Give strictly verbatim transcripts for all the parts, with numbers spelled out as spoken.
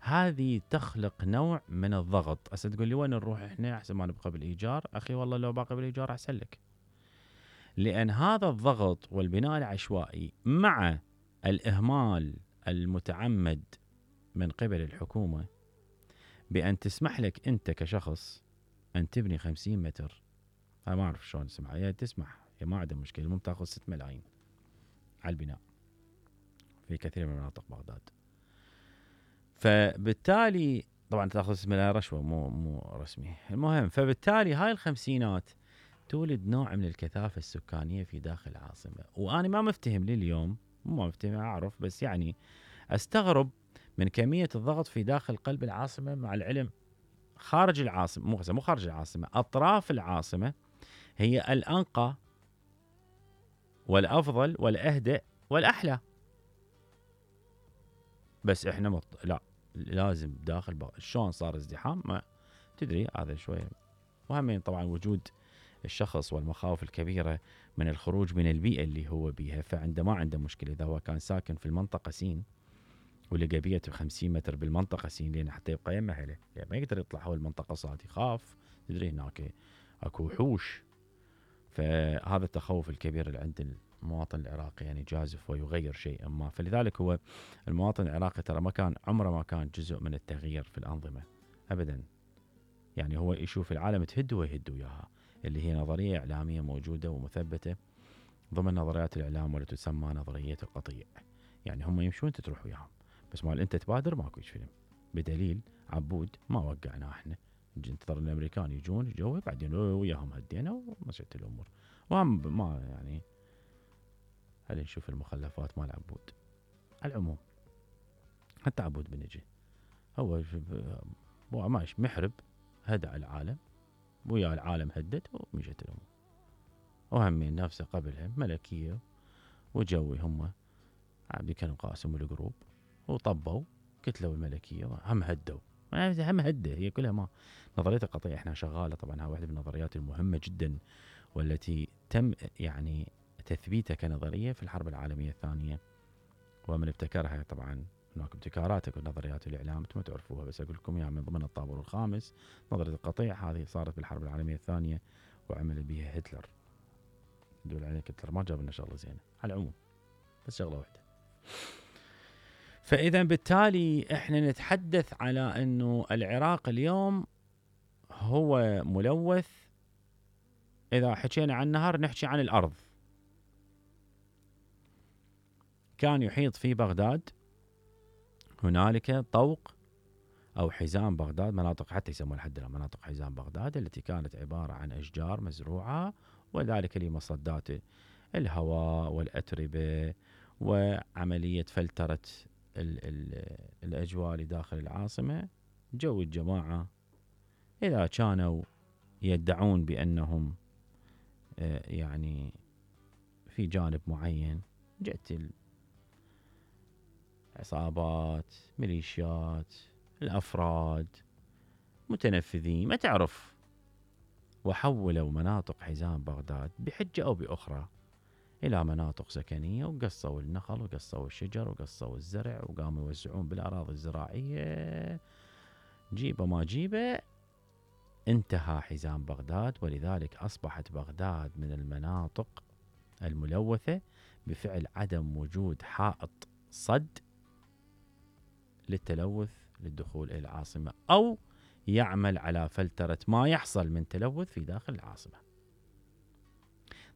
هذه تخلق نوع من الضغط. هسه تقول لي وين نروح احنا احسن ما نبقى بالايجار؟ اخي والله لو باقي بالايجار احسن لك، لان هذا الضغط والبناء العشوائي مع الاهمال المتعمد من قبل الحكومه بان تسمح لك انت كشخص ان تبني خمسين متر. انا ما اعرف شلون تسمح، هي تسمح، هي ما عندها مشكله، المهم تاخذ ستة ملايين على البناء في كثير من مناطق بغداد. فبالتالي طبعا تاخذ ستة ملايين رشوه مو مو رسمي. المهم فبالتالي هاي الخمسينات تولد نوع من الكثافه السكانيه في داخل العاصمه. وانا ما مفتهم لليوم، مو مفتهم اعرف، بس يعني استغرب من كميه الضغط في داخل قلب العاصمه، مع العلم خارج العاصمه مو مو خارج العاصمه، اطراف العاصمه هي الانقى والافضل والاهدأ والاحلى. بس احنا مط... لا لازم داخل بغ... شلون صار ازدحام ما تدري هذا شويه. وهم طبعا وجود الشخص والمخاوف الكبيره من الخروج من البيئه اللي هو بيها، فعنده ما عنده مشكله اذا هو كان ساكن في المنطقه سين ولقى بيته خمسين متر بالمنطقه سين، لان حتى يبقى يمه اهله، يعني ما يقدر يطلع هو المنطقه صاد، يخاف. تدري هناك اكو وحوش. فهذا التخوف الكبير اللي عند المواطن العراقي يعني جازف ويغير شيئا ما. فلذلك هو المواطن العراقي ترى ما كان عمره ما كان جزء من التغيير في الأنظمة أبدا. يعني هو يشوف العالم تهد ويهد وياها، اللي هي نظرية إعلامية موجودة ومثبتة ضمن نظريات الإعلام والتي تسمى نظرية القطيع. يعني هم يمشون انت تروح وياهم، بس مال انت تبادر ماكو فيلم. بدليل عبود ما وقعنا احنا، انتظر الامريكان يجون جو بعدين وياهم هدينا ومشت الامور. وهم ما يعني هل نشوف المخلفات مال عبود. على العموم حتى عبود بنجي هو هو ماشي محرب هدع العالم ويا العالم هدت ومشت الامور. وهمين نفسه قبلها ملكيه وجوي هم عبد كانوا قاسم الجروب وطبوا كتلوا الملكيه هم هدوا هم هده. هي كلها ما نظريه القطيع احنا شغاله طبعا. ها واحده من النظريات المهمه جدا والتي تم يعني تثبيتها كنظريه في الحرب العالميه الثانيه، ومن ابتكرها طبعا هناك ابتكارات ونظريات الاعلام انتم تعرفوها، بس اقول لكم يعني من ضمن الطابور الخامس نظريه القطيع هذه صارت بالحرب العالميه الثانيه وعمل بها هتلر. يدل عليك هتلر ما جاب لنا شغله زينه. على العموم بس شغله واحده. فاذا بالتالي احنا نتحدث على انه العراق اليوم هو ملوث. اذا حكينا عن النهر نحكي عن الارض. كان يحيط في بغداد هنالك طوق او حزام بغداد، مناطق حتى يسمونها لحد الان مناطق حزام بغداد، التي كانت عباره عن اشجار مزروعه وذلك لمصدات الهواء والاتربه وعمليه فلتره ال ال الاجواء لداخل العاصمه. جو الجماعه اذا كانوا يدعون بانهم يعني في جانب معين، جت عصابات ميليشيات الافراد متنفذين ما تعرف، وحولوا مناطق حزام بغداد بحجه او باخرى الى مناطق سكنيه، وقصوا النخل وقصوا الشجر وقصوا الزرع وقاموا يوزعون بالاراضي الزراعيه. جيبه ما جيبه انتهى حزام بغداد، ولذلك اصبحت بغداد من المناطق الملوثه بفعل عدم وجود حائط صد للتلوث للدخول إلى العاصمة، أو يعمل على فلترة ما يحصل من تلوث في داخل العاصمة.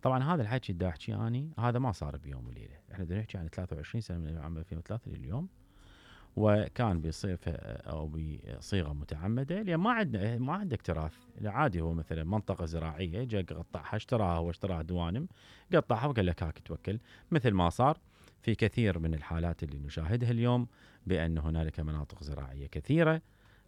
طبعا هذا الحكي دا أحكي أني هذا ما صار بيوم وليلة، احنا دا نحكي عن ثلاثة وعشرين سنة من عام ألفين وثلاثة لليوم، وكان بصيغة أو بصيغة متعمدة، لأن ما عندنا ما عندك تراث. عادي هو مثلا منطقة زراعية جاء قطعها اشتراها هو اشتراها دوانم قطعها وقال لك هاك توكل، مثل ما صار في كثير من الحالات اللي نشاهدها اليوم بأن هنالك مناطق زراعية كثيرة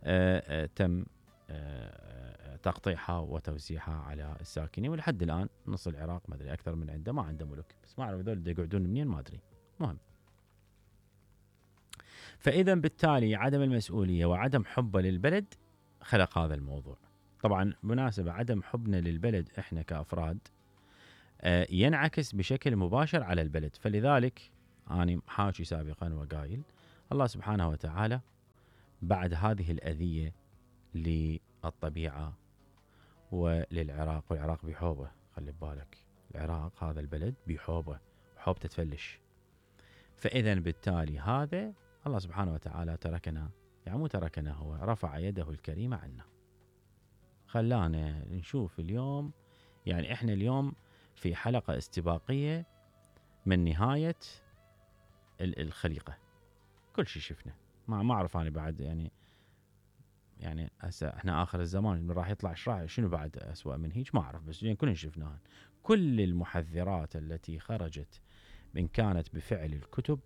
آآ آآ تم آآ تقطيعها وتوزيعها على الساكنين، ولحد الآن نص العراق ما أدري أكثر من عنده ما عنده ملك، بس ما أعرف هذول يقعدون منين ما أدري. مهم. فإذا بالتالي عدم المسؤولية وعدم حبه للبلد خلق هذا الموضوع. طبعا مناسبة عدم حبنا للبلد إحنا كأفراد ينعكس بشكل مباشر على البلد. فلذلك أنا حاكي سابقا وقايل الله سبحانه وتعالى بعد هذه الأذية للطبيعة وللعراق، والعراق بحوبة، خلي ببالك العراق هذا البلد بحوبة، حوبته تفلش. فإذا بالتالي هذا الله سبحانه وتعالى تركنا، يعني مو تركنا، هو رفع يده الكريمة عنا، خلانا نشوف اليوم. يعني احنا اليوم في حلقة استباقية من نهاية الخليقة، كل شيء شفنا. ما ما اعرف انا بعد، يعني يعني هسه احنا اخر الزمان راح يطلع شراع شنو بعد اسوأ من هيك ما اعرف، بس يعني كلنا شفناها. كل المحذرات التي خرجت ان كانت بفعل الكتب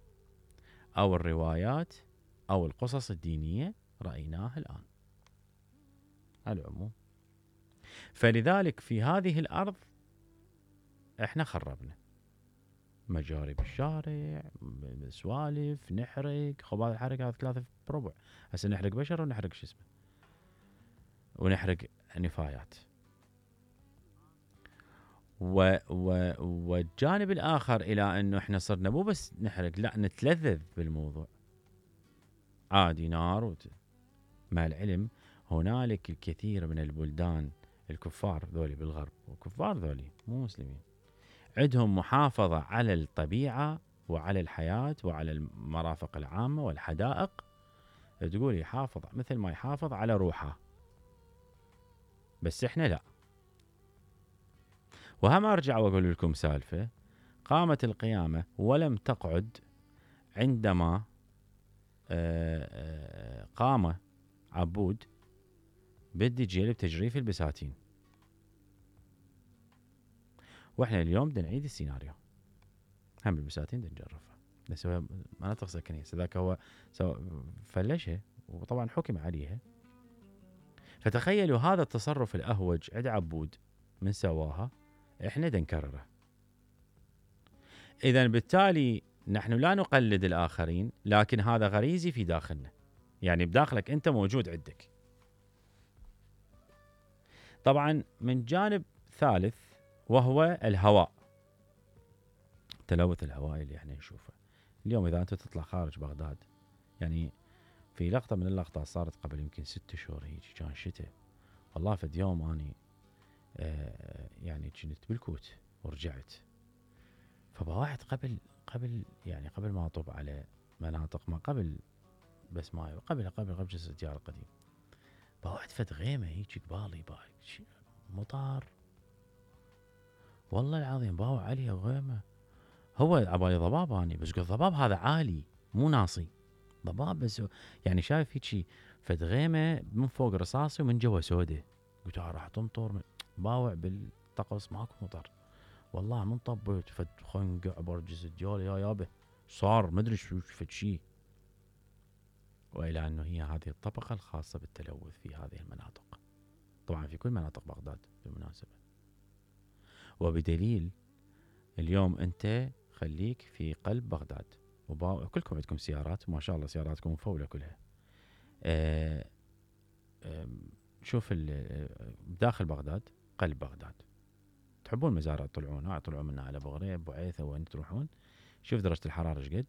او الروايات او القصص الدينية رأيناها الان على العموم. فلذلك في هذه الارض احنا خربنا مجاري بالشارع، سوالف، نحرق. خب هذا الحرق هذا ثلاثة بربع، هسه نحرق بشر ونحرق شو اسمه، ونحرق نفايات. و و والجانب الاخر الى انه احنا صرنا مو بس نحرق، لا نتلذذ بالموضوع عادي نار وت... مع العلم هنالك الكثير من البلدان الكفار ذولي بالغرب، وكفار ذولي مو مسلمين، عندهم محافظة على الطبيعة وعلى الحياة وعلى المرافق العامة والحدائق، تقول يحافظ مثل ما يحافظ على روحه. بس احنا لا. وهم ارجع واقول لكم سالفة، قامت القيامة ولم تقعد عندما قام عبود بالدجيل بتجريف البساتين. واحنا اليوم بدنا نعيد السيناريو، هم البساتين بدنا نجرفها، نسوي مناطق سكنية. ذاك هو فلشها وطبعا حكم عليها. فتخيلوا هذا التصرف الأهوج عند عبود من سواها، احنا بدنا نكرره. إذا بالتالي نحن لا نقلد الآخرين، لكن هذا غريزي في داخلنا، يعني بداخلك أنت موجود عندك. طبعا من جانب ثالث وهو الهواء، تلوث الهواء اللي احنا نشوفه اليوم. إذا أنت تطلع خارج بغداد، يعني في لقطة من اللقطات صارت قبل يمكن ست شهور هيك، كان شتاء والله. فد يوم أني آه يعني كنت بالكوت ورجعت، فبواعد قبل قبل يعني قبل ما أطب على مناطق، ما قبل بس ما قبل قبل قبل جسر الديار القديم، بواعد فد غيمة هيك قبالي باي مطار والله العظيم، باوع عليها غيمة. هو عبالي ضباب اني، بس قلت ضباب هذا عالي مو ناصي، ضباب بس يعني شايف هيك فد غيمة من فوق رصاصي ومن جوا سودة. قلت راح تمطر، باوع بالطقس ماكو مطر والله. من طبيت فد خنقع برجس الديول يا يابه صار مدري شو فد شي. والى انه هي هذه الطبقة الخاصة بالتلوث في هذه المناطق، طبعا في كل مناطق بغداد بالمناسبة. وبدليل اليوم انت خليك في قلب بغداد، وكلكم عندكم سيارات ما شاء الله، سياراتكم مفولة كلها. آآ آآ شوف داخل بغداد، قلب بغداد، تحبون مزارع تطلعون، ها طلعوا منا على ابو غريب وعيثة وين تروحون، شوف درجة الحرارة ايش قد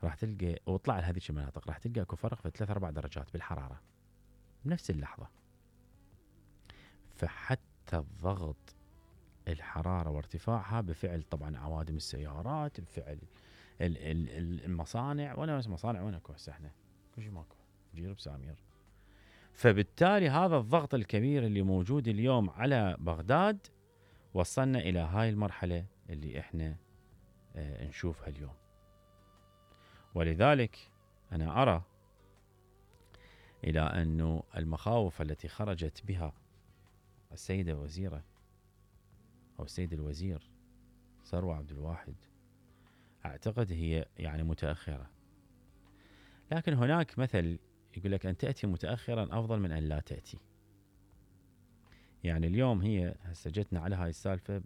راح تلقى، واطلع لهذيك المناطق راح تلقى اكو فرق في ثلاث اربع درجات بالحرارة بنفس اللحظة. فحتى الضغط، الحرارة وارتفاعها بفعل طبعا عوادم السيارات، بفعل المصانع، ولا بس مصانع وين اكو هسه احنا كل شيء ماكو جيرب سامير. فبالتالي هذا الضغط الكبير اللي موجود اليوم على بغداد وصلنا الى هاي المرحلة اللي احنا اه نشوفها اليوم. ولذلك انا ارى الى انه المخاوف التي خرجت بها السيدة الوزيرة او السيد الوزير ثروة عبد الواحد، اعتقد هي يعني متأخرة. لكن هناك مثل يقول لك ان تأتي متأخرا افضل من ان لا تأتي. يعني اليوم هي هسه جتنا على هاي السالفة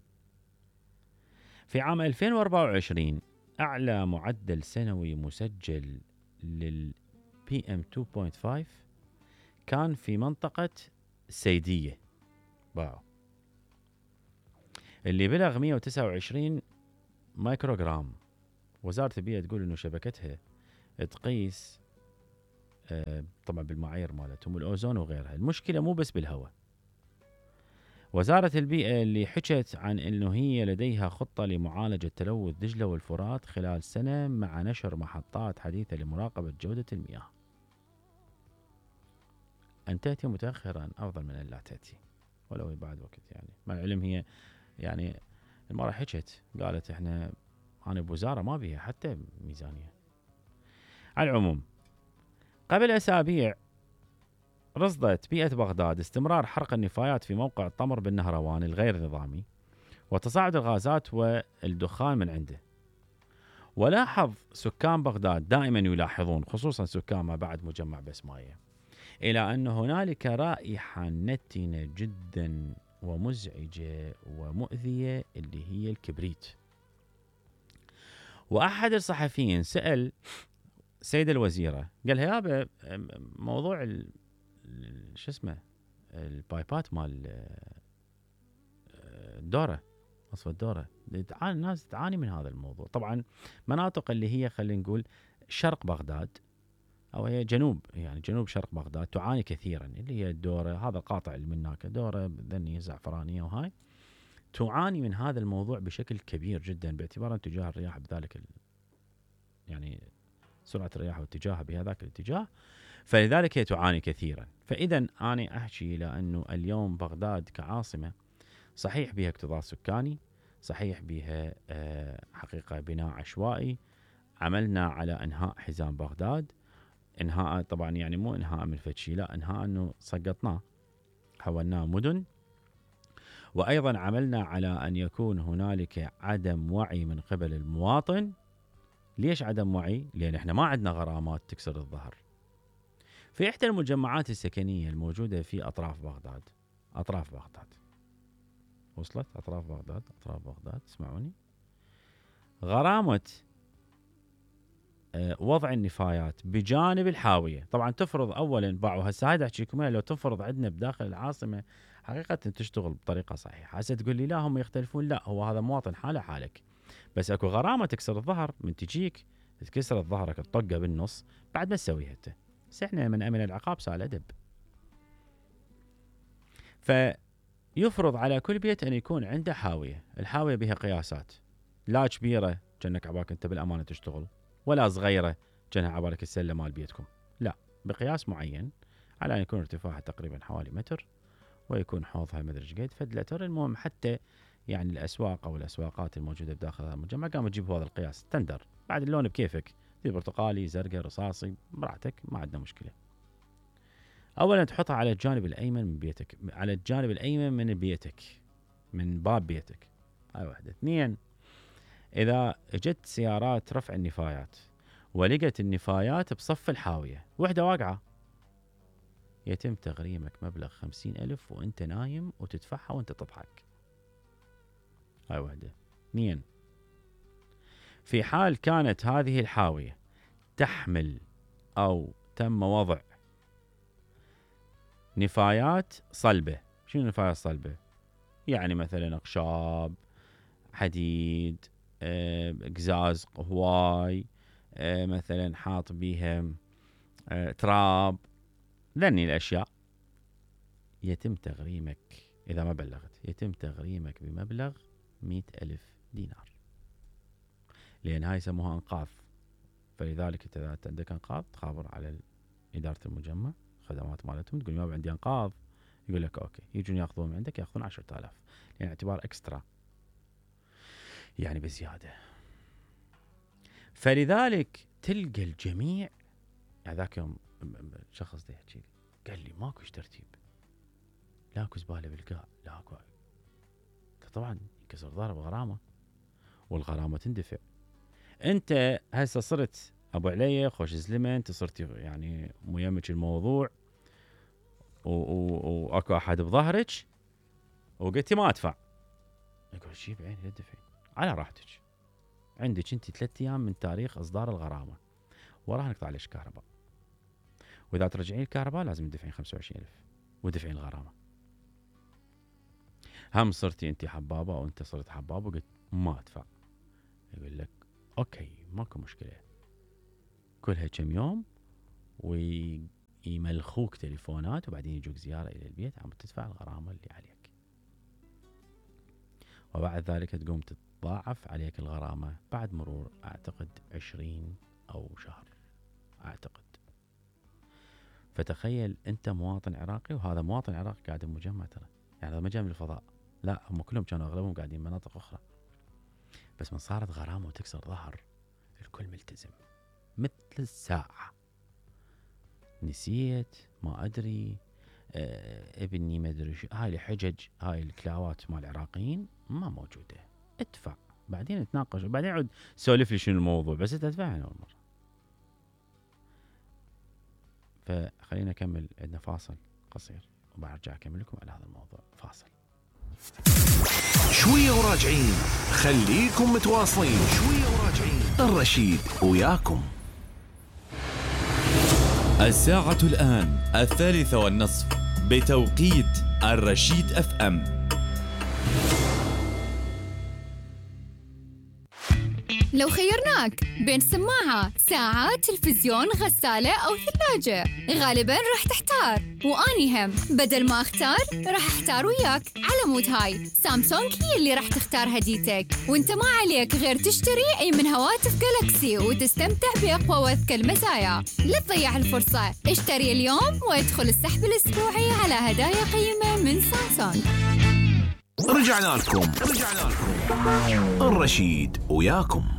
في عام ألفين وأربعة وعشرين، اعلى معدل سنوي مسجل لل بي إم اثنين فاصلة خمسة كان في منطقة السيدية باو، اللي بلغ مئة وتسعة وعشرين مايكروغرام. وزارة البيئة تقول انه شبكتها تقيس طبعا بالمعايير مالتهم الأوزون وغيرها. المشكلة مو بس بالهواء. وزارة البيئة اللي حكت عن أنه هي لديها خطة لمعالجة تلوث دجلة والفرات خلال سنة مع نشر محطات حديثة لمراقبة جودة المياه. أن تأتي متأخرا أفضل من أن لا تأتي ولو بعد وقت، يعني مع العلم هي يعني المرة حكت قالت احنا أنا بوزارة ما بيها حتى ميزانية. على العموم قبل أسابيع رصدت بيئة بغداد استمرار حرق النفايات في موقع الطمر بالنهروان الغير نظامي وتصاعد الغازات والدخان من عنده. ولاحظ سكان بغداد دائما يلاحظون خصوصا سكان ما بعد مجمع بسماية إلى أن هنالك رائحة نتنة جدا ومزعجة ومؤذية اللي هي الكبريت. وأحد الصحفيين سأل سيد الوزيرة قال يابا موضوع ال شو اسمه البايبات مال الدورة مصفى الدورة الناس تعاني من هذا الموضوع. طبعا مناطق اللي هي خلينا نقول شرق بغداد أو هي جنوب يعني جنوب شرق بغداد تعاني كثيرا اللي هي الدورة، هذا القاطع اللي من هناك دورة ذني زعفرانية وهاي تعاني من هذا الموضوع بشكل كبير جدا باعتبار اتجاه الرياح بذلك ال... يعني سرعة الرياح واتجاهها بهذاك الاتجاه، فلذلك هي تعاني كثيرا. فإذا أنا أحكي إلى أنه اليوم بغداد كعاصمة صحيح بها اكتظاظ سكاني، صحيح بها حقيقة بناء عشوائي، عملنا على إنهاء حزام بغداد، إنهاء طبعا يعني مو إنهاء من فتشي، لا إنهاء أنه سقطناه حولناه مدن. وأيضا عملنا على أن يكون هنالك عدم وعي من قبل المواطن. ليش عدم وعي؟ لأن إحنا ما عندنا غرامات تكسر الظهر. في إحدى المجمعات السكنية الموجودة في أطراف بغداد، أطراف بغداد وصلت أطراف بغداد أطراف بغداد اسمعوني، غرامة وضع النفايات بجانب الحاوية. طبعا تفرض أولا باعوا هسه هاي أحكي لكم لو تفرض عندنا بداخل العاصمة حقيقة تشتغل بطريقة صحيحة. هسه تقول لي لا هم يختلفون، لا هو هذا مواطن حاله حالك، بس اكو غرامة تكسر الظهر من تجيك تكسر ظهرك تطقه بالنص بعد ما تسويها انت. بس احنا من امن العقاب سال ادب. فيفرض على كل بيت ان يكون عنده حاوية، الحاوية بها قياسات، لا كبيرة كأنك عبالك انت بالامانة تشتغل، ولا صغيرة كأنها عبالك السلة مال بيتكم، لا بقياس معين على ان يكون ارتفاعها تقريبا حوالي متر ويكون حوضها مدري ايش قد فد لتر. المهم حتى يعني الاسواق او الاسواقات الموجوده بداخل هذا المجمع قاموا تجيب هذا القياس تندر، بعد اللون بكيفك، في برتقالي زرقاء رصاصي براحتك ما عندنا مشكله. اولا تحطها على الجانب الايمن من بيتك، على الجانب الايمن من بيتك من باب بيتك، هاي واحده. اثنين، اذا اجت سيارات رفع النفايات ولقت النفايات بصف الحاويه وحده واقعه، يتم تغريمك مبلغ خمسين ألف وانت نايم وتدفعها وانت تضحك. هاي واحدة. اثنين، في حال كانت هذه الحاوية تحمل أو تم وضع نفايات صلبة. شنو نفايات صلبة؟ يعني مثلا أخشاب، حديد، قزاز هواي، مثلا حاط بيها تراب، ذني الأشياء، يتم تغريمك إذا ما بلغت يتم تغريمك بمبلغ مئة ألف دينار، لأن هاي يسموها أنقاذ. فلذلك إذا أنت عندك أنقاذ تخابر على إدارة المجمع خدمات مالتهم، تقول ما عندي أنقاذ، يقول لك أوكي، يجون يأخذون من عندك يأخذون عشرة آلاف، يعني اعتبار إكسترا يعني بزيادة. فلذلك تلقى الجميع. هذاك يوم شخص ده يحكي قال لي ماكوش ترتيب، لاكو زبالة بالقاع، لاكو طبعا يكسر ظهره بغرامة والغرامة تندفع. انت هسه صرت ابو علي خوش زلمه، انت صرت يعني ميمك الموضوع واكو احد بظهرك وقلتي ما ادفع، يقول شي بعيني لا تدفعين على راحتك، عندك انت ثلاث ايام من تاريخ اصدار الغرامه وراها نقطع عليك كهرباء، واذا ترجعين الكهرباء لازم تدفعين خمسة وعشرين ألف ودفعين الغرامه. هم صرتي انت حبابه او انت صرت حباب وقلت ما ادفع، يقول لك اوكي ماكو مشكله، كلها كم يوم ويملخوك تليفونات وبعدين يجوك زيارة إلى البيت عم تدفع الغرامة اللي عليك، وبعد ذلك تقوم تتضاعف عليك الغرامة بعد مرور أعتقد عشرين أو شهر أعتقد. فتخيل أنت مواطن عراقي وهذا مواطن عراقي قاعد بمجمع، ترى يعني هذا ما جاي من الفضاء، لا هم كلهم كانوا أغلبهم قاعدين مناطق أخرى، بس من صارت غرامة وتكسر ظهر الكل ملتزم مثل الساعة. نسيت ما أدري آه ابني ما أدري شو، هاي الحجج هاي الكلاوات مال العراقيين ما موجودة، ادفع بعدين نتناقش وبعدين عود سولف لي شنو الموضوع، بس تدفع أول مرة. فخلينا نكمل، عندنا فاصل قصير وبرجع أكمل لكم على هذا الموضوع. فاصل شوية وراجعين، خليكم متواصلين. شوية وراجعين، الرشيد وياكم. الساعة الآن الثالثة والنصف بتوقيت الرشيد اف ام. لو خيرناك بين سماعة، ساعة، تلفزيون، غسالة أو ثلاجة، غالباً راح تحتار، وأني هم بدل ما أختار راح أحتار وياك. على مود هاي سامسونج هي اللي راح تختار هديتك، وانت ما عليك غير تشتري أي من هواتف جالاكسي وتستمتع بأقوى وأذكى المزايا. لا تضيع الفرصة، اشتري اليوم وادخل السحب الأسبوعي على هدايا قيمة من سامسونج. رجعنا لكم رجعنا لكم الرشيد وياكم.